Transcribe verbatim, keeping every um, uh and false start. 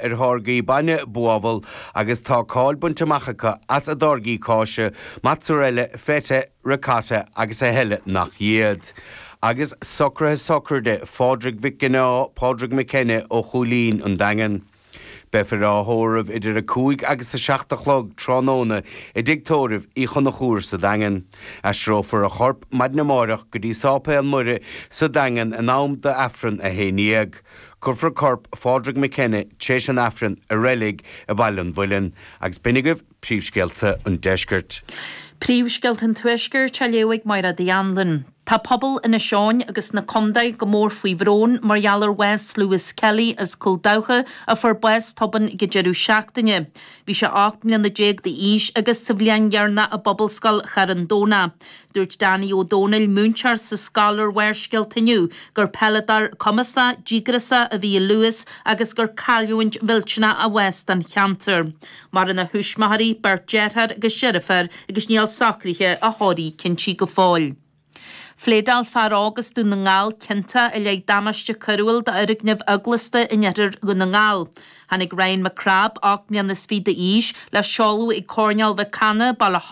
ar tháirgí bainne buabhall agus tá cáil bainte amach acu as a dtáirgí cáise, mozzarella, feta, ricotta agus a thuilleadh nach iad. Agus socruithe sochraide Phádraig Mhic Ginneá Pádraig McKenna ó Chúilín an Daingean. Beifear á thórramh idir a cúig agus a seacht a chlog tráthnóna i dtigh tórraimh Uí Chonchúir sa Daingean. Aistreofar a chorp maidin amárach go dtí Sáipéal Muire sa Daingean in am d'Aifreann a haon déag. Cuirfear corp Phádraig McKenna tar éis an Aifrinn i reilig i Baile an Mhuilinn, agus b'in agaibh príomhscéalta an deiscirt. Príomhscéalta an Tuaiscirt á léamh ag Máire Anlin. Tá pobal Inis Eoghain agus na contae go mór faoi bhrón mar gheall ar bhás Lewis Kelly as Cúil Dabhcha a fuair bás tobann ag an deireadh seachtaine. Bhí sé ocht mbliana déag d'aois agus sa bhliain dheireanach i bPobalscoil Charn Domhnach. Dúirt Danny Ó Dónaill, múinteoir sa scoil ar Bharrscéalta inniu, gur peileadóir cumasach, díograiseach a bhí i Lewis agus gur cailliúint mhillteanach a bhás don cheantar. Maireann a thuismitheoirí, beirt deartháir agus deirfiúr agus níl socruithe a thórraimh cinnte go fóill. Phléadáil fear óg as Dún na nGall ciontach i leith damáiste coiriúil d'fhoirgneamh eaglasta in oirthear Dhún na nGall. Tháinig Ryan McCrabb, ocht mbliana is fiche d'aois, le seoladh ag Coirnéal Mhic Cana, Baile